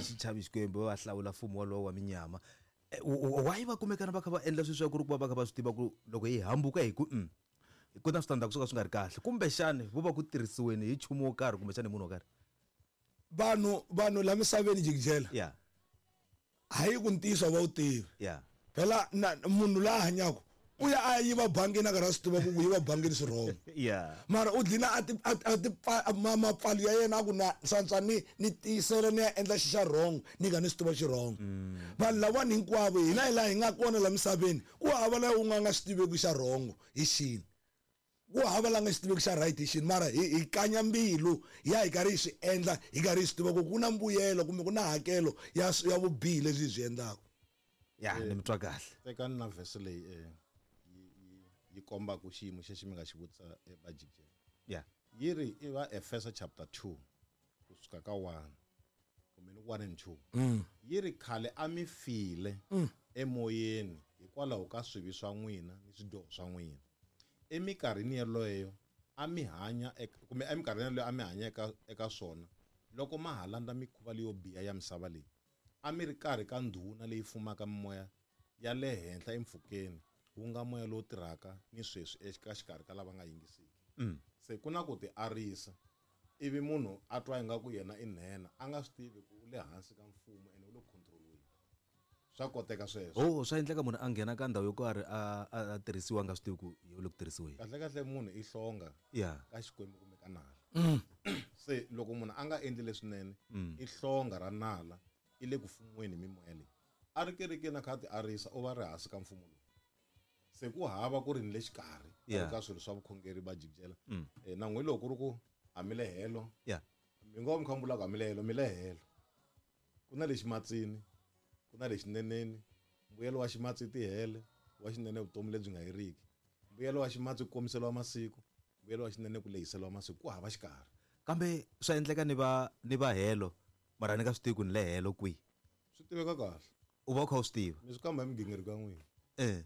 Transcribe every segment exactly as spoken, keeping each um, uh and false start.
Xi chavi Xikwembu, va hlawula mfumo wolowo wa minyama. Eh, why va kumekana va kha va endla sweswiya ku ri ku va va kha va swi tiva ku loko hi hambuka hi ku mm, ku na switandzhaku swo ka swi nga ri kahle, kumbexani vo va ku tirhisiweni hi nchumu wo karhi kumbexani hi munhu wo karhi? Vanhu vanhu la misaveni, jikijela, yeah hayi ku ntiyiso va wu tivi. Yeah phela na munhu la hanyaka u ya a ya yiva bangini a karhi a swi tiva ku ku yiva bangini swi wrong, yeah mara u dlina a ti a a ti pfa- ma mapfalo ya yena a ku na swantswa ni ni tiyisela ni ya endla xi xa wrong, ni nga ni swi tiva xi wrong. Vanhu lavani hinkwavo hina hi laha hi nga kona la misaveni, ku hava la u nga nga xi tiveki xa wrong hi xini, ku hava la nga xi tiveki xa right hi xini, mara hi hi kanya mbilu ya hi karhi hi swi endla, hi karhi hi swi tiva ku ku na mbuyelo kumbe ku na hakelo ya ya vubihi lebyi hi byi endlaka. Ya, ni mi twa kahle. Tekani na vhese leyi eh, yi yi yi kombaka xiyimo xexi mi nga xi vutisa ebajikeni. Yeah yi ri i va Efesa chapter two kusuka ka one kumbe ni one and two. Yi ri khale a mi file emoyeni hikwalaho ka swivi swa n'wina ni swidyoho swa n'wina. Emikarhini yeleyo a mi hanya eka, kumbe emikarhini yeleyo a mi hanya eka eka swona loko ma ha landza mikhuva leyo biha ya misava leyi, a mi ri karhi ka ndhuna leyi fumaka mimoya ya le henhla empfhukeni, wu nga moya lowu tirhaka ni sweswi eka xikarhi ka lava nga yingisiki. Se ku na ku ti arisa, ivi munhu a twa ingaku yena i nhenha, a nga swi tivi ku u le hansi ka mfumo ene u le control-weni. Swa koteka sweswo. Oh, swa endleka munhu a nghena ka ndhawu yo karhi a a a tirhisiwa a nga swi tivi ku u le ku tirhisiweni. Kahle kahle munhu i hlonga yeah ka Xikwembu kumbe ka nala. Se loko munhu a nga endli leswinene, i hlonga ra nala, i le ku fumiweni hi mimoya leyi. A ri kerekeni a kha a ti arisa, u va ri hansi ka mfumo lowu. Se ku hava ku ri ni le xikarhi Yeah. ka swilo swa vukhongeri va jikijela. Eh, na n'wi loko ku ri ku a mi le helo, yeah mi ngo mi kha mi vula ku a mi le helo, mi le helo. Ku na lexi matsini, ku na lexi neneni. Mbuyelo wa ximatsi tihele, wa xinene vutomi lebyi nga heriki. Mbuyelo wa ximatsi ku komiseliwa masiku, mbuyelo wa xinene ku lehiseliwa masiku. Ku hava xikarhi. Kambe swa endleka ni va ni va helo, mara ni nga swi tivi ku ni le helo kwihi. Swi tiveka kahle. U va u kha u swi tiva. Mi swi kamba hi migingiriko ya n'wina. Eh.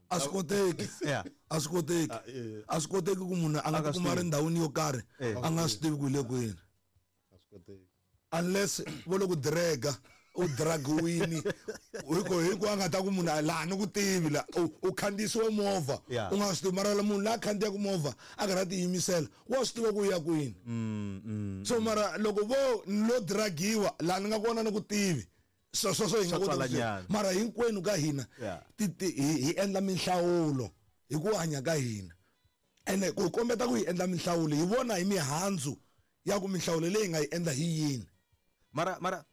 A swi koteki. Yeah. A swi koteki. Ah, eh. A swi koteki ku munhu a nga A nga tikuma a ri swi tivi. ndhawini yo karhi Eh. a nga swi tivi ku hi le kwini. A swi koteki. Unless vo le ku drega, u dragiwini hi ku hi ku a nga ta ku munhu a laha ni ku tivi la, u, u khandziyisiwe movha, Yeah. u nga swi tivi, mara la munhu la khandziyaka movha a karhi a tiyimisela wa swi tiva ku u ya kwini. Mm, mm. So mara loko vo lo dragiwa laha ni nga kona ni ku tivi, swo sweswo hi nga Swa koti ku twala swi nyana. Mara hinkwenu ka hina Yeah. ti, ti, hi, hi endla minhlawulo hi ku hanya ka hina, ene ku kombeta ku hi endla minhlawulo hi vona hi mihandzu ya ku minhlawulo leyi hi nga yi endla hi yini. Mara, mara,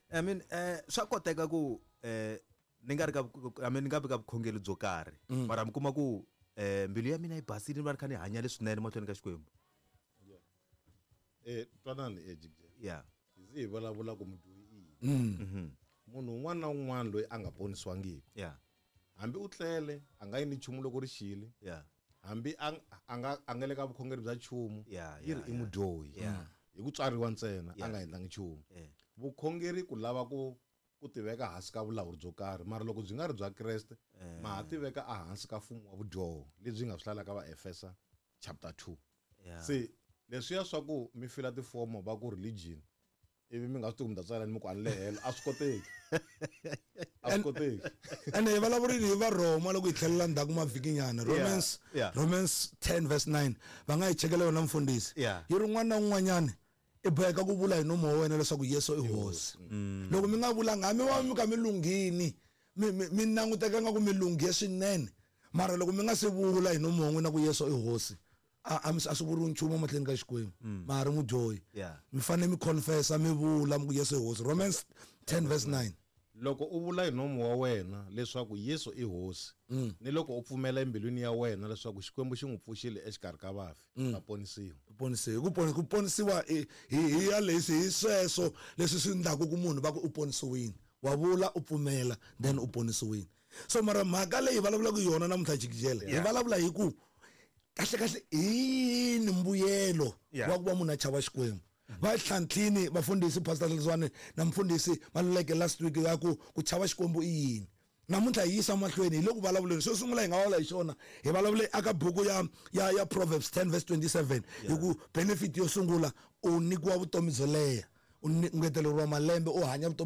I mean, eh, swa koteka ku, eh, ni nga ri ka vu-, I mean, ni nga vi ka vukhongeri byo karhi. Mm. Mara mi kuma ku, eh, mbilu ya mina yi basile, ni va ni kha ni hanya leswinene mahlweni ka Xikwembu. Yeah. Eh, twanani, eh, Jigje. Yeah. Hi zi hi vulavula ku mudyohi i yini. Mm. Mm-hmm. Munhu un'wana na un'wana loyi a nga ponisiwangiki. Yeah. Hambi u tlele, a nga yi ni nchumu loko ri xile. Yeah. Hambi a, a nga, a nga le ka vukhongeri bya nchumu, Yeah, yi ri yeah, i yeah. mudyohi. Yeah. Hi ku tswariwa ntsena, a Yeah. nga endlangi nchumu. Yeah. Vukhongeri ku lava ku, ku tiveka hansi ka vulawuri byo karhi, mara loko byi nga ri bya Kreste, Eh. ma ha tiveka ehansi ka mfumo wa vudyoho lebyi nga swi hlalaka va Efesa chapter two. Yeah. Se leswiya swa ku mi fila tifomo va ku religion, ivi mi nga swi tivi ku mi ta tsala ni mi ku a ni le helo, a swi koteki. A swi koteki. Ene hi vulavurile hi va Roma loko hi tlhelela ndzhaku mavhikinyana. Yeah, Romans, yeah. Romans ten verse nine. Va nga hi chekela yona mfundhisi. Yeah. Yi ri un'wana na un'wanyana i boheka ku vula hi nomu wa wena leswaku Yesu i Hosi. Mm. Loko mi nga vulanga, hambi va mi kha mi lunghini, mi, mi, mi languteka nga ku mi lunghe swinene, mara loko mi nga se vula hi nomu wa n'wina ku Yesu i Hosi, a, a mi, a swi vuriwi nchumu emahlweni ka Xikwembu. Mm. Ma ha ri mudyohi. Yeah. Mi fanele mi confessa, mi vula mi ku Yesu i Hosi. Romans ten verse nine. Loko u vula hi nomu wa wena leswaku Yesu i Hosi, Mm. ni loko u pfumela embilwini ya wena leswaku Xikwembu xi n'wi pfuxile exikarhi ka vafi, Mm. u ta ponisiwa. U ponisiwa. Ku poni-, ku ponisiwa i, hi, hi ya leswi, hi sweswo leswi swi endlaku ku munhu va ku u ponisiwile. Wa vula u pfumela, then u ponisiwile. So mara mhaka leyi hi vulavulaka hi yona namuntlha jikijela, hi Yeah. vulavula hi ku kahle kahle hi yini mbuyelo Yeah. wa ku va munhu a chava Xikwembu. Va tlhantlhini vafundhisi Pastor Letswane na mfundhisi Maluleke last week ya ku ku chava Xikwembu i yini. Namuntlha hi yisa mahlweni hi le ku vulavuleni. Xo sungula hi nga vulavula hi xona, hi vulavule aka buku ya, ya, ya Proverbs ten verse twenty-seven, hi ku benefit yo sungula u nyikiwa vutomi byo leha, U ngeteleriwa malembe, u hanya vutomi.